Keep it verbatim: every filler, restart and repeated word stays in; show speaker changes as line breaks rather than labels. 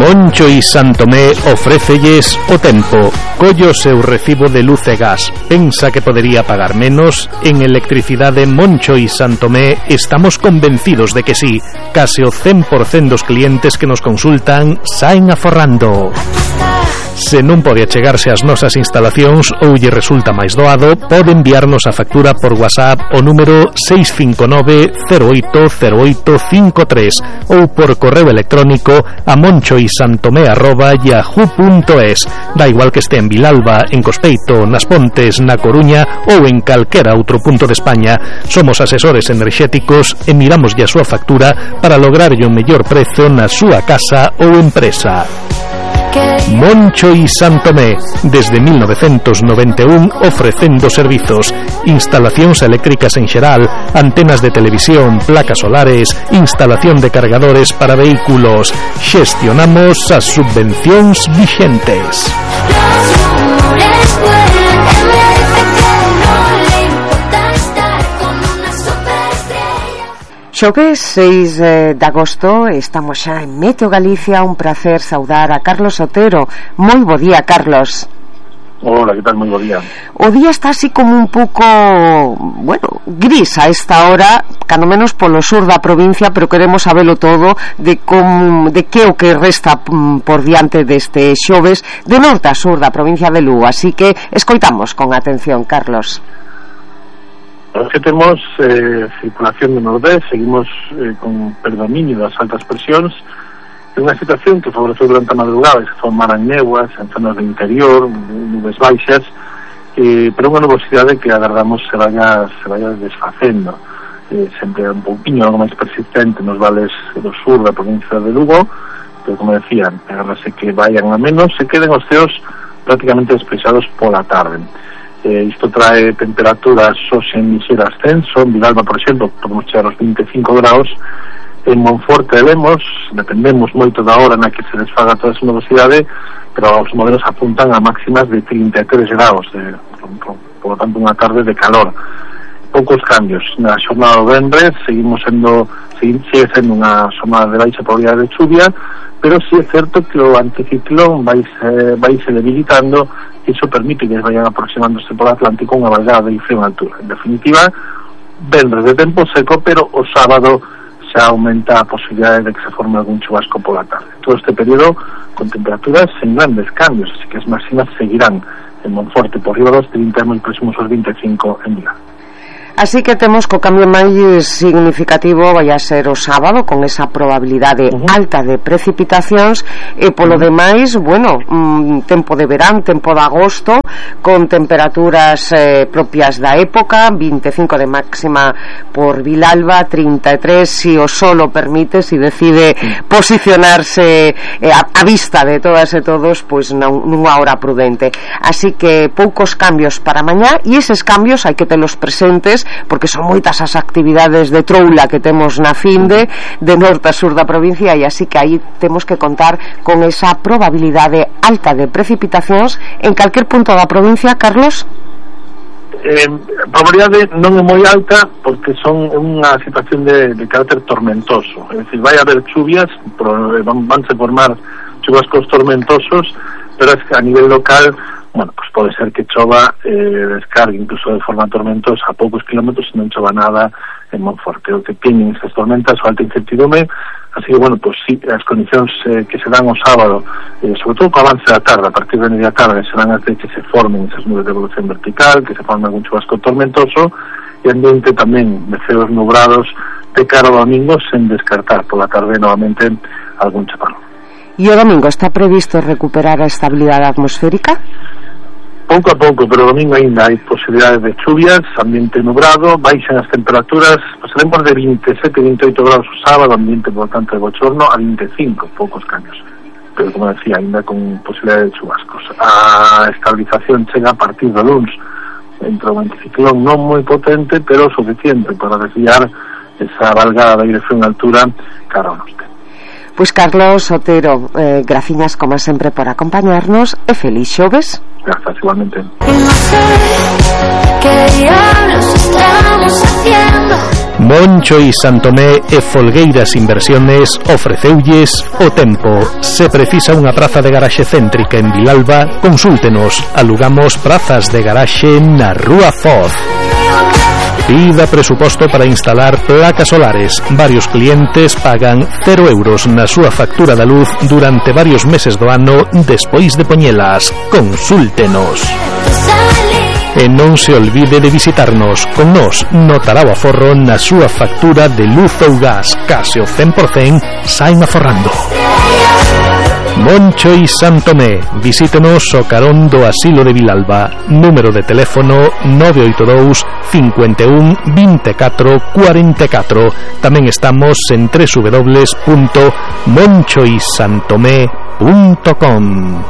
Moncho y Santomé ofrécelles o tempo. Collo seu recibo de luz e gas. Pensa que podería pagar menos? En Electricidade Moncho y Santomé estamos convencidos de que sí. Case o cen por cento dos clientes que nos consultan saen aforrando. Se non pode achegarse ás nosas instalacións ou lle resulta máis doado, pode enviarnos a factura por WhatsApp o número seis cinco nove cero oito cero oito cinco tres ou por correo electrónico a monchoisantomé arroba yahoo punto es. Da igual que este en Vilalba, en Cospeito, nas Pontes, na Coruña ou en calquera outro punto de España. Somos asesores enerxéticos e miramos a súa factura para lograrlle o mellor prezo na súa casa ou empresa. Moncho y Santomé, desde mil novecentos noventa e un ofrecendo servizos, instalacións eléctricas en xeral, antenas de televisión, placas solares, instalación de cargadores para vehículos. Xestionamos as subvencións vixentes.
Xoves seis de agosto, estamos xa en Meteo Galicia. Un placer saudar a Carlos Otero. Moi bo día, Carlos.
Hola, que tal? Moi bo día.
O día está así como un pouco, bueno, gris a esta hora, cando menos polo sur da provincia, pero queremos sabelo todo de como, de que o que resta por diante deste xoves de norte a sur da provincia de Lugo. Así que escoitamos con atención, Carlos.
Los que temos eh, circulación de nordés, seguimos eh, con predominio das altas presións. É unha situación que favoreceu durante a madrugada e se formaran néboas en zonas do interior, nubes baixas, eh, pero unha nubosidade que agardamos se vaya, se vaya desfacendo. Eh, sempre un pouquinho algo máis persistente nos vales do sur da provincia de Lugo, pero como decía, agardase que vayan a menos, se queden os ceos prácticamente despexados pola tarde. Eh, isto trae temperaturas hoxe en lixeiro ascenso. En Vilalba, por exemplo, podemos chegar aos vinte e cinco graus. En Monforte e Lemos dependemos moito da hora na que se desfaga toda esa nubosidade, pero os modelos apuntan a máximas de trinta e tres graus, de, por, por lo tanto unha tarde de calor. Poucos cambios na xornada do venres, seguimos sendo sigue sendo unha xornada de baixa probabilidade de chuvia, pero sí é certo que o anticiclón vai se, vai se debilitando, e iso permite que vayan aproximándose por Atlántico unha vaguada de frío en altura. En definitiva, venres de tempo seco, pero o sábado xa aumenta a posibilidade de que se forme algún chubasco pola tarde. Todo este período con temperaturas sen grandes cambios, así que as máximas seguirán en Monforte por riba dos trinta, moi próximos aos vinte e cinco en Vilalba.
Así que temos que o cambio máis significativo vai a ser o sábado, con esa probabilidade uh-huh. alta de precipitacións, e polo uh-huh. demais, bueno, mm, tempo de verán, tempo de agosto, con temperaturas eh, propias da época, vinte e cinco de máxima por Vilalba, trinta e tres se o sol o permite, se decide uh-huh. posicionarse eh, a, a vista de todas e todos, pois non, nunha hora prudente. Así que poucos cambios para mañá, e eses cambios hai que telos presentes, porque son moitas as actividades de troula que temos na finde de norte a sur da provincia, e así que aí temos que contar con esa probabilidade alta de precipitacións en calquer punto da provincia, Carlos.
Eh, a probabilidade non é moi alta porque son unha situación de, de carácter tormentoso, é dicir, vai haber chuvias, pero van, vanse formar chubascos tormentosos, pero es que a nivel local, bueno, pues pode ser que chova, eh, descargue incluso de forma tormentosa a poucos kilómetros e non chova nada en Monforte. O que tienen esas tormentas o alta incertidumbre, así que, bueno, pues sí, as condicións eh, que se dan o sábado, eh, sobre todo co avance da tarde, a partir de media tarde, serán as de que se formen esas nubes de evolución vertical, que se forme algún chubasco tormentoso, e ambiente tamén de ceos nubrados de cara ao domingo, sen descartar por la tarde novamente algún chaparrón.
E o domingo está previsto recuperar a estabilidade atmosférica?
Pouco a pouco, pero o domingo ainda hai posibilidades de chuvias, ambiente nubrado, baixan as temperaturas, pasaremos de vinte e sete a vinte e oito graus o sábado, ambiente por tanto de bochorno, a vinte e cinco, poucos cambios, pero como decía, ainda con posibilidades de chubascos. A estabilización chega a partir do luns, entre o anticiclón non moi potente, pero suficiente para desviar esa valgada de aire frío en altura cara ao norte.
Pois Carlos Otero, eh, graciñas como sempre por acompañarnos e feliz xoves.
Grazas, igualmente.
Moncho y Santomé e Folgueiras Inversiones ofreceulles o tempo. Se precisa unha praza de garaxe céntrica en Vilalba, consúltenos. Alugamos prazas de garaxe na Rúa Foz. Pida presuposto para instalar placas solares. Varios clientes pagan cero euros na súa factura da luz durante varios meses do ano despois de poñelas. Consúltenos. E non se olvide de visitarnos. Con nos notará o aforro na súa factura de luz ou gas. Case o cen por cen saen aforrando. Moncho y Santomé. Visítenos o carón do Asilo de Vilalba. Número de teléfono nove oito dous, cinco un, dos catro, cuatro catro. Tamén estamos en doble u doble u doble u punto moncho y santomé punto com.